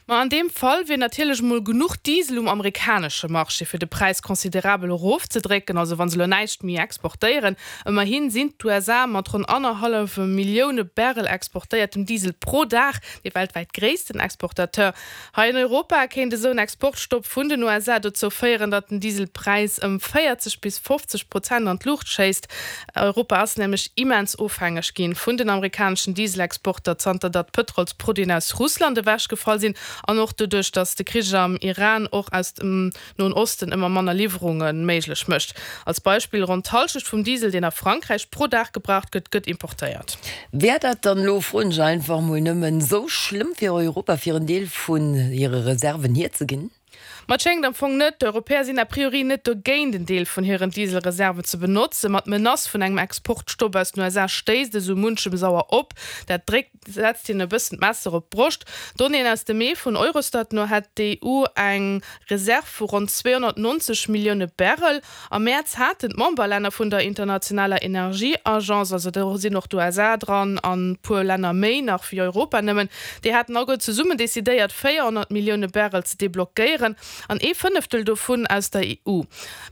Ma an deem Fall wier natierlech emol genuch Diesel um amerikanesche Marché, fir de Präis considerabel erofzedrécken, also wa se elo näischt méi exportéieren. Ëmmerhi sinn d'USA mat ronn annerhallwe Millioune Barrel exportéiertem Diesel pro Dag dee weltwäit gréissten Exportateur. Hei an Europa kéint esou en Exportstopp vun den USA dozou féieren, datt den Dieselpräis ëm 40 bis 50 Prozent an d'Luucht schéisst. Europa ass nämlech immens ofhängeg ginn vun den amerikaneschen Dieselexporter, zanter datt d'Pëtrolsproduiten aus Russland ewechgefall sinn an och doduerch, datt de Krich am Iran och aus dem Noen Osten ëmmer manner Liwwerunge méiglech mécht. Als Beispill, Ronn d'Hallschecht vum Diesel, deen a Frankräich pro Dag gebraucht gëtt, gëtt importéiert. Wär dat dann elo, froen ech einfach mol nëmmen, esou schlëmm fir Europa, fir en Deel vun hire Reserven hierzeginn? Ma et schéngt am Fong net. D'Europäer sinn a priori net dogéint, en Deel vun hiren Dieselreserven ze benotzen. Ma d'Menace vun engem Exportstopp aus den USA stéisst esou munchem sauer op. Dat dréckt setzt hien e bëssen d'Messer op d'Broscht. Donnéeën aus dem Mee vun Eurostat no hätt d'EU eng Reserv vu ronn 290 Millioune Barrel. Am Mäerz haten d'Memberlänner vun der internationaler Energieagence, also do sinn och d'USA dran an e puer Länner méi nach wéi Europa nëmmen, déi haten alleguer zesummen decidéiert 400 Millioune Barrel ze deblockéieren an ee Fënneftel dovun aus der EU.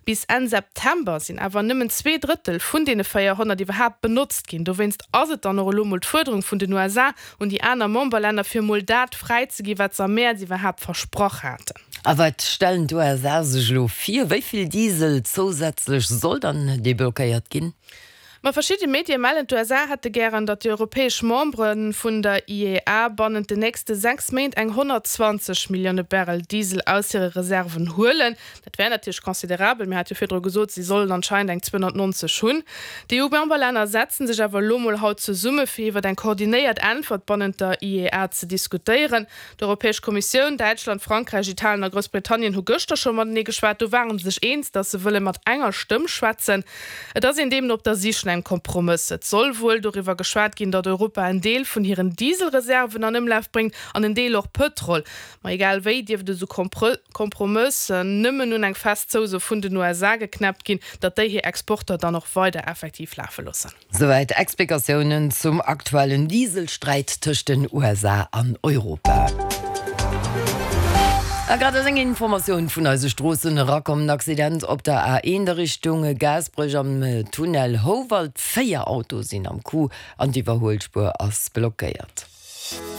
Bis Enn September sinn awer nëmmen 2/3 vun deene 400 iwwerhaapt benotzt ginn. Dowéinst ass et dann och elo mol d'Fuerderung vun den USA un déi aner Memberlänner, fir mol dat fräizeginn, wat se am Mäerz iwwerhaapt versprach haten. A wat stellen d'USA sech elo vir? Wéi vill Diesel zousätzlech soll dann deblockéiert ginn? Ma verschidde Medie mellen, d'USA hätte gären, datt déi europäesch Membere vun der IEA bannent den nächste 6 Méint eng 120 Millioune Barrel Diesel aus hire Reserven huelen. Dat wär natierlech considerabel. Mir hate jo virdru gesot, si sollen anscheinend eng 290 hunn. D'EU-Memberlänner setzen sech awer elo mol haut zesumme fir iwwer eng koordinéiert Äntwert bannent der IEA ze diskutéieren. D'Europäesch Kommissioun, Däitschland, Frankräich, Italien a Groussbritannien hu gëschter scho matenee geschwat. Do ware se sech eens, datt se wëlle mat enger Stëmm schwätzen. Et ass een deemno op der Sich no engem Kompromëss. Et soll wuel doriwwer geschwat ginn, datt Europa en Deel vun hiren Dieselreserven an Ëmlaf bréngt an en Deel och Pëtrol. Ma egal wéi dierft esou Kompromëss nëmmen un eng fest Zouso vun den USA geknäppt ginn, datt déi hir Exporter dann och weider effektiv lafe loossen. Souwäit Explikatiounen zum aktuellen Dieselsträit tëscht den USA an Europa. A grad ass eng Informatioun vun eise Stroossen erakomm, En Accident op der A1 a Richtung Gaasperech am Tunnel Houwald. 4 Autoe sinn am Coup an d'Iwwerhuelspuer ass blockéiert.